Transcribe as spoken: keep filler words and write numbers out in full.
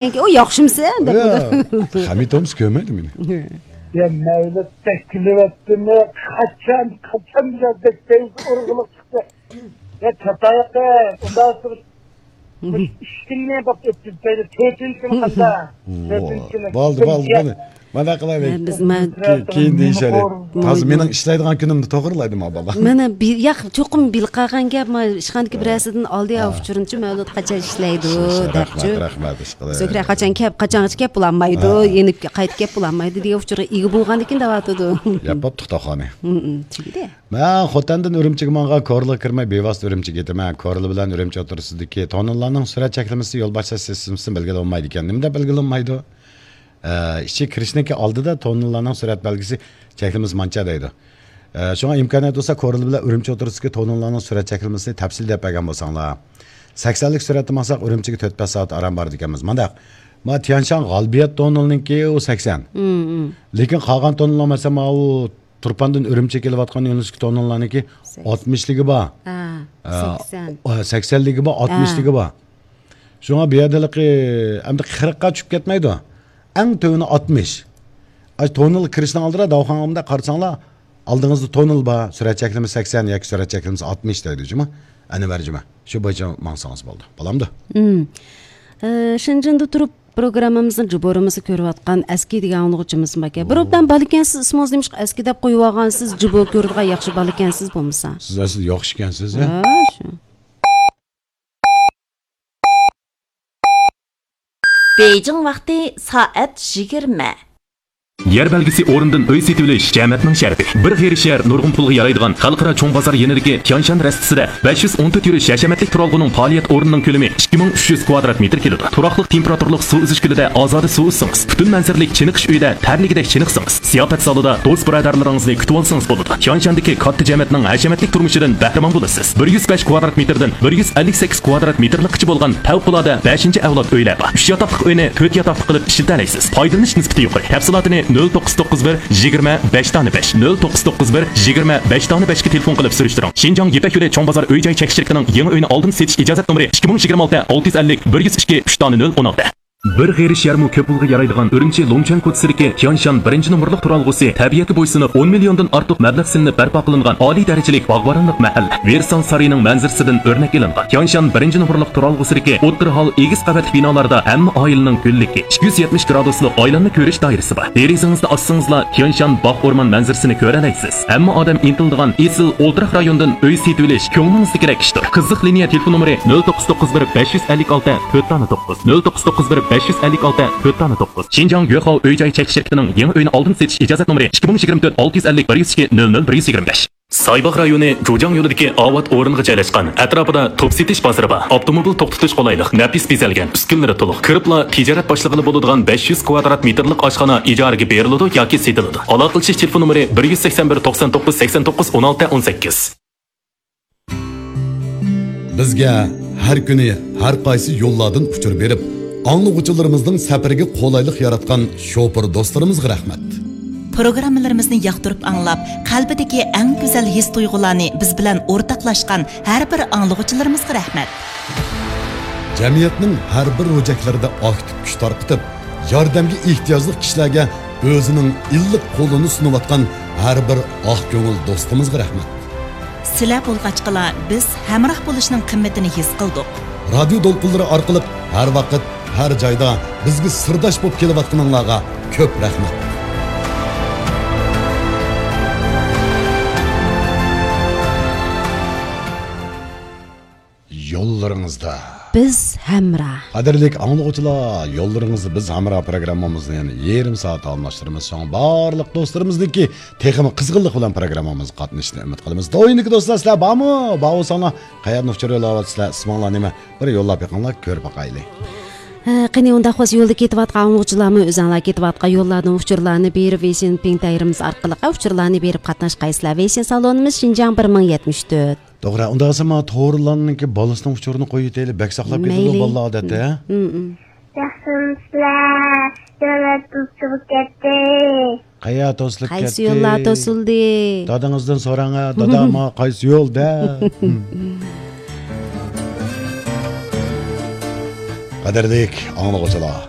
ئۇ ياخشىمسەن دەپ. يا، خەمىتومس كۆرمەيدۇ مېنى. يا مەۋلۇت بەك كۈلۈۋەتتىمۇ؟ قاچان، قاچان بىلەن بەك پەيزى ئورغىلىق چىقتى. يا چاتاياقتا ئۇنداق تۇرۇپ، ئۈچ كۈننى بەك ئۆتتۈم، تۆتىنچى كۈنى قاندا؟ تۆتىنچى كۈنى. بولدى، بولدى، مانا، مانا قىلايلى. بىز، مەن كېيىن، كېيىن دېيىشەيلى. ھازىر مېنىڭ ئىشلەيدىغان كۈنۈمنى توغرىلايدۇ ما بالا. مانا بىر، ياق، چوقۇم بىلىپ قالغان گەپ، ما ئىشخانىدىكى بىرەرسىدىن ئالدى ئۇچۇرۇنچۇ مەۋلۇت قاچان ئىشلەيدۇ دەپچۇ. رەھمەت، رەھمەت، ئىشقىلىپ. زۆھرە قاچان كەپ، قاچانغىچە كەپ بولالمايدۇ، يېنىپ قايتىپ كەپ بولالمايدۇ دېگەن ئۇچۇرغا ئىگە بولغاندىكىن دەۋاتىدۇ. ياپاپ تۇتاخانى. تۈگىدى. مەن خوتەندىن ئۈرۈمچىگە ماڭغان، كورلىغا كىرمەي بىۋاسىتە ئۈرۈمچىگە يېتىمەن. كورلا بىلەن ئۈرۈمچى ئوتتۇرىسىدىكى توننېللارنىڭ سۈرئەت چەكلىمىسى يول باشلاش سىستېمىسىدىن بەلگىلىنىپ بولمايدىكەن. نېمە دەپ بەلگىلىنىپ بولمايدۇ؟ ئە، ئىچىگە كىرىشنىڭكى ئالدىدا توننېللارنىڭ سۈرئەت بەلگىسى، چەكلىمىسى مانچە دەيدۇ. ئە، شۇڭا ئىمكانىيەت بولسا كورلا بىلەن ئۈرۈمچى ئوتتۇرىسىدىكى توننېللارنىڭ سۈرئەت چەكلىمىسىنى تەپسىلىي دەپ بەرگەن بولساڭلار. سەكسەنلىك سۈرئەتتە ماڭساق ئۈرۈمچىگە تۆت بەش سائەت ئاران بارىدىكەنمىز. مانداق، ما تيەنشان غالىبىيەت توننېلىنىڭكى ئۇ سەكسەن. لېكىن قالغان توننېللار، مەسىلەن، ماۋۇ تۇرپاندىن ئۈرۈمچىگە كېلىۋاتقان يۆنىلىشتىكى توننېللارنىڭكى ئاتمىشلىكى بار. ئە، سەكسەن. ئە، سەكسەنلىكى بار، ئاتمىشلىكى بار. شۇڭا بۇ يەردە ھېلىقى ئەمدى قىرىققا چۈشۈپ كەتمەيدۇ. ئەڭ تۆۋىنى ئاتمىش. ئاشۇ توننېلغا كىرىشنىڭ ئالدىدا داۋخانغا مۇنداق قارىساڭلار، ئالدىڭىزدا توننېل بار، سۈرئەت چەكلىمىسى سەكسەن ياكى سۈرئەت چەكلىمىسى ئاتمىش دەيدۇ جۇمۇ. ئەنۋەر جۇمۇ. شۇ بويىچە ماڭسىڭىز بولدى. بولامدۇ؟ ئە، شېنجېندا تۇرۇپ پروگراممىمىزنى جۇبورىمىزدا كۆرۈۋاتقان ئەسكى دېگەن ئاڭلىغۇچىمىز باركەن. بىر ئوبدان بالا ئىكەنسىز، ئىسمىڭىز نېمىشقا ئەسكى دەپ قويۇۋالغانسىز؟ جۇبو كۆرىدىغان ياخشى بالا ئىكەنسىز بولمىسا. سىز ئەسلى ياخشى ئىكەنسىز، ھە؟ ھە، شۇ. بېيجىڭ ۋاقتى سائەت يىگىرمە. يەر بەلگىسى ئورنىدىن ئۆي سېتىۋېلىش جەمەتنىڭ شەرىپى. بىر غېرىب شەھەر نۇرغۇن پۇلغا يارايدىغان خەلقئارا چوڭ بازار يېنىدىكى تيانشان رەستىسىدە بەش يۈز ئون تۆت يۈرۈش ھەشەمەتلىك تۇرالغۇنىڭ پائالىيەت ئورنىنىڭ كۆلىمى ئىككى مىڭ ئۈچ يۈز كۋادرات مېتىر كېلىدۇ. تۇراقلىق تېمپېراتۇرىلىق سۇ ئۈزۈش كۆلىدە ئازادە سۇ ئۈزسىڭىز، پۈتۈن مەنزىرىلىك چېنىقىش ئۆيىدە تەرلىگۈدەك چېنىقسىڭىز، زىياپەت زالىدا دوست بۇرادەرلىرىڭىزنى كۈتۈۋالسىڭىز بولىدۇ. تيانشاندىكى كاتتا جەمەتنىڭ ھەشەمەتلىك تۇرمۇشىدىن بەھرىمەن بولىسىز. بىر يۈز بەش كۋادرات مېتىردىن بىر يۈز ئەللىك سەككىز كۋادرات مېتىرلىكقىچە بولغان پەۋقۇلئاددە بەشىنچى ئەۋلاد ئۆيلەر بار. ئۈچ ياتاقلىق ئۆينى تۆت ياتاقلىق قىلىپ ئىشلىتەلەيسىز. پايدىلىنىش نىسبىتى يۇقىرى. تەپسىلاتىنى نۆل توققۇز توققۇز بىر، يىگىرمە، بەش دانە بەش، نۆل توققۇز توققۇز بىر، يىگىرمە، بەش دانە بەشكە تېلېفون قىلىپ سۈرۈشتۈرۈڭ. شىنجاڭ يىپەك يولى چوڭ بازار ئۆي جاي چەكلىك شىركىتىنىڭ يېڭى ئۆينى ئالدىن سېتىش ئىجازەت نومۇرى ئىككى مىڭ يىگىرمە ئالتە، ئالتە يۈز ئەللىك، بىر يۈز ئىككى، ئۈچ دانە نۆل ئون ئالتە. بىر غېرىب شەھەرمۇ كۆپ پۇلغا يارايدىغان ئۈرۈمچى لۇڭچۈەن كوچىسىدىكى تيانشان بىرىنچى نومۇرلۇق تۇرالغۇسى تەبىئەتكە بويسۇنۇپ، ئون مىليوندىن ئارتۇق مەبلەغ سېلىنىپ بەرپا قىلىنغان ئالىي دەرىجىلىك باغۋەنلىك مەھەللە. ۋېرسال سارىيىنىڭ مەنزىرىسىدىن ئۆرنەك ئېلىنغان. تيانشان بىرىنچى نومۇرلۇق تۇرالغۇسىدىكى ئوتتۇرا ھال ئېگىز قەۋەتلىك بىنالاردا ھەممە ئائىلىنىڭ گۈللۈكى، ئىككى يۈز يەتمىش گرادۇسلۇق ئايلانما كۆرۈش دائىرىسى بار. دېرىزىڭىزنى ئاچسىڭىزلا، تيانشان باغ ئورمان مەنزىرىسىنى كۆرەلەيسىز. ھەممە ئادەم ئىنتىلىدىغان ئېسىل ئولتۇراق رايونىدىن ئۆي سېتىۋېلىش كۆڭلىڭىزدىكىدەك ئىشتۇر. قىزىق لىنىيە تېلېفون نومۇرى نۆل توققۇز توققۇز بىر، بەش يۈز ئەللىك ئالتە، تۆت دانە توققۇز، نۆل توققۇز توققۇز بىر، بەش يۈز ئەللىك ئالتە، تۆت دانە توققۇز. شىنجاڭ يۆخاۋ ئۆي جاي چەكلىك شىركىتىنىڭ يېڭى ئۆينى ئالدىن سېتىش ئىجازەت نومۇرى ئىككى مىڭ يىگىرمە تۆت، ئالتە يۈز ئەللىك، بىر يۈز ئىككى، نۆل نۆل، بىر يۈز يىگىرمە بەش. سايباغ رايونى جۇجاڭ يولىدىكى ئاۋات ئورنىغا جايلاشقان. ئەتراپىدا توپ سېتىش بازىرى بار. ئاپتوموبىل توختىتىش قولايلىق، نەپىس بېزەلگەن، ئۈسكۈنىلىرى تولۇق. كىرىپلا تىجارەت باشلىغىلى بولىدىغان بەش يۈز كۋادرات مېتىرلىق ئاشخانا ئىجارىگە بېرىلىدۇ ياكى سېتىلىدۇ. ئالاقىلىشىش تېلېفون نومۇرى بىر يۈز سەكسەن بىر، توقسان توققۇز، سەكسەن توققۇز، ئون ئالتە، ئون سەككىز. بىزگە ھەر كۈنى ھەر قايسى يوللاردىن ئۇچۇر بېرىپ، ئاڭلىغۇچىلىرىمىزنىڭ سەپىرىگە قولايلىق ياراتقان شوپۇر دوستلىرىمىزغا رەھمەت. پروگراممىلىرىمىزنى ياقتۇرۇپ ئاڭلاپ، قەلبىدىكى ئەڭ گۈزەل ھېس-تۇيغۇلارنى بىز بىلەن ئورتاقلاشقان ھەر بىر ئاڭلىغۇچىلىرىمىزغا رەھمەت. جەمئىيەتنىڭ ھەر بىر روجەكلىرىدە ئاكتىپ كۈچ تارقىتىپ، ياردەمگە ئېھتىياجلىق كىشىلەرگە ئۆزىنىڭ ئىللىق قولىنى سۇنۇۋاتقان ھەر بىر ئاق كۆڭۈل دوستىمىزغا رەھمەت. سىلەر بولغاچقىلا بىز ھەمراھ بولۇشنىڭ قىممىتىنى ھېس قىلدۇق. رادىيو دولقۇنلىرى ئارقىلىق ھەر ۋاقىت، ھەر جايدا بىزگە سىرداش بولۇپ كېلىۋاتقىنىڭلارغا كۆپ رەھمەت. يوللىرىڭىزدا بىز ھەمراھ. قەدىرلىك ئاڭلىغۇچىلار، يوللىرىڭىزدا بىز ھەمراھ پروگراممىمىزنى يەنە يېرىم سائەت داۋاملاشتۇرىمىز. شۇڭا بارلىق دوستلىرىمىزنىڭكى تېخىمۇ قىزغىنلىق بىلەن پروگراممىمىزغا قاتنىشىشىنى ئۈمىد قىلىمىز. دوينىكى دوستلار، سىلەر بارمۇ؟ بار بولساڭلار، قەيەردىن ئۇچۇر يوللاۋاتىسىلەر؟ ئىسمىڭلار نېمە؟ بىر يوللاپ بېقىڭلار، كۆرۈپ باقايلى. ھە، قېنى، ئۇنداق بولسا يولدا كېتىۋاتقان ئاڭلىغۇچىلارمۇ ئۆزۈڭلار كېتىۋاتقان يوللاردىن ئۇچۇرلارنى بېرىپ، ۋېيشىن پىڭتايرىمىز ئارقىلىق ئۇچۇرلارنى بېرىپ قاتناشقايسىلەر. ۋېيشىن سالونىمىز شىنجاڭ بىر مىڭ يەتمىش تۆت. توغرا، ئۇنداق بولسا مانا تورلارنىڭكى بالىسىنىڭ ئۇچۇرىنى قويۇۋېتەيلى. بەك ساقلاپ كېتىدۇ بالىلار ئادەتتە، ھە؟ مم، مم. ياخشىمۇسىلەر؟ يوللار توسۇلۇپ كەتتى. قەيەر توسۇلۇپ كەتتى؟ قايسى يوللار توسۇلدى؟ دادىڭىزدىن سوراڭ، ھە، دادا، ماڭا قايسى يول دە؟ قەدىرلىك ئاڭلىغۇچىلار،